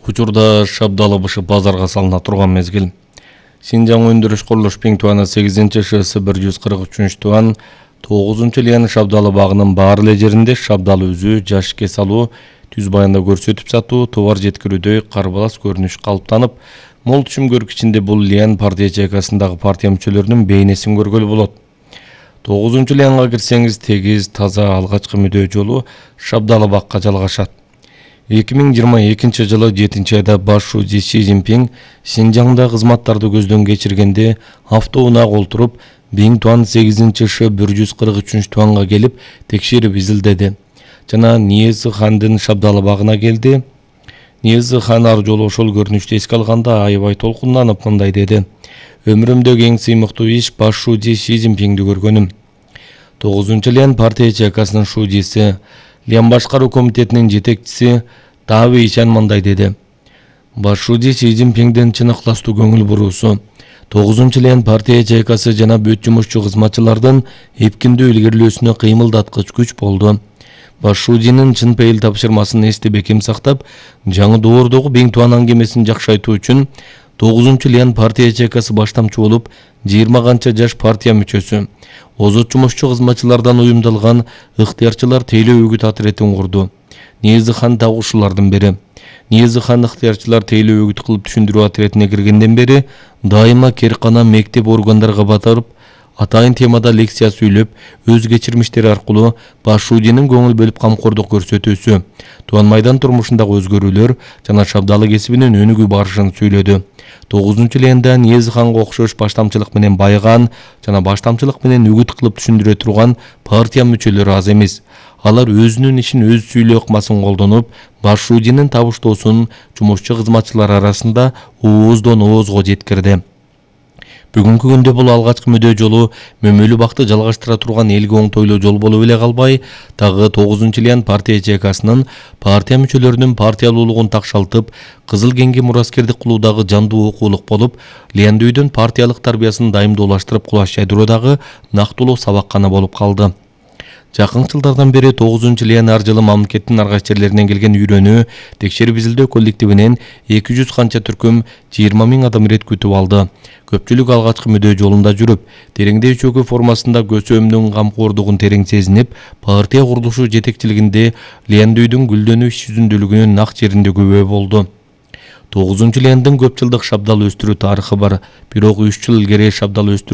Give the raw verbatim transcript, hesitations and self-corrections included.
Учурда Шабдалы бышы базарга салына турган мезгил. Синжаң өндүрүш курулуш Пиң Туана сегизинчи ШС бир жүз кырк үчүнчү туан тогузунчу лияны Шабдалы багынын баары эле жеринде шабдалы үзүү, жашке салуу, түз баянда көрсөтүп сатуу, товар жеткирүүдө карбалас көрүнүш калыптанып, мол түшүм көргүчүндө бул лиян партия чайкасындагы партия мүчөлөрүнүн бейнесин көргөлү болот. тогузунчу лиянга кирсеңиз тегиз, таза алгачкы мүдөө жолу Шабдалы бакка жалгашат. эки миң жыйырма экинчи жылы жетинчи айда баш шуузи Си Цзиньпин Синжаңда кызматтарды көздөн кечиргенде автоунаага олтуруп Пиң Туан сегизинчи Ш бир жүз кырк үчүнчү туанга келип текшерип изилдеди жана Ниязы хандын Шабдалы багына келди. Ниязы хан ар жолу ошол көрүнүштү эске алганда аябай толкунданып мындай деди: "Өмүрүмдөгү эң сыймыктуу иш баш шуузи Си Цзиньпинди көргөнүм". тогузунчу лиян партия чайкасынын шуудиси, Лиян башкаруу комитетинин жетекчиси Тавы Ишан мындай деди: "Баш шуузи Си Цзиньпиндин чын ыкластуу көңүл буруусу, тогузунчу лиян партия чайкасы жана бүт жумушчу кызматчылардын эпкиндүү илгерилөөсүнө кыймылдаткыч күч болду. Баш шуудинин чын пейил тапшырмасын эсте бекем сактап, жаңы доордогу Пиң Туан аңгемесин жакшайтуу үчүн тогузунчу лиян партия чайкасы баштамчы болуп, жыйырма канча жаш партия мүчөсү, озот жумушчу кызматчылардан уюмдалган ыктыярчылар тейлөө үгүт отрядын курду. Ниязы хан дагы ушулардын бири. Ниязы хан ыктыярчылар тейлөө үгүт кылып түшүндүрүү отрядына киргенден бери дайыма керкана мектеп органдарга батырып, атайын темада лекция сүйлөп, өз кечирмиштери аркылуу баш шуудинин көңүл бөлүп камкордук көрсөтүүсү, Туан майдан турмушундагы өзгөрүүлөр жана Шабдалы кесибинин өнүгүү барышын сүйлөдү. тогузунчу лиянда Ниязы ханга окшош баштамчылык менен байыган жана баштамчылык менен үгүт кылып түшүндүрө турган партия мүчөлөрү аз эмес. Алар өзүнүн ишин өз сүйлөө ыкмасын колдонуп, баш шуудинин табыштоосун жумушчу кызматчылар арасында ооздон оозго жеткирди. Бүгүнкү күндө бул алгачкы мүдөө жолу мөмөлүү бакты жалгаштыра турган элге оңтойлуу жол болуп эле калбай, дагы тогузунчу лиян партия чайкасынын партия мүчөлөрүнүн партиялуулугун такшалтып, Кызыл кеңги мураскердик кылуудагы жандуу окуулук болуп, лияндөөдөн партиялык тарбиясын дайымдуулаштырып кулаш жайдыруудагы нактылуу сабаккана болуп калды. Жакын жылдардан бери тогузунчу лиян ар жылы мамлекеттин ар кайсы жерлеринен келген үйрөнүү, текшерип изилдөө коллективинен эки жүз канча түркүм жыйырма миң адам ирет күтүп алды. Көпчүлүк алгачкы мүдөө жолунда жүрүп, тереңдөө чөгүү формасында көсөөмдүн камкордугун терең сезинип, партия курулушу жетекчилигинде лияндөөдүн гүлдөнүү иш жүзүндөлүгүнүн нак жеринде күбө болду. тогузунчу лияндын көп жылдык Шабдалы өстүрүү тарыхы бар, бирок үч жыл илгери Шабдалы өстүрүү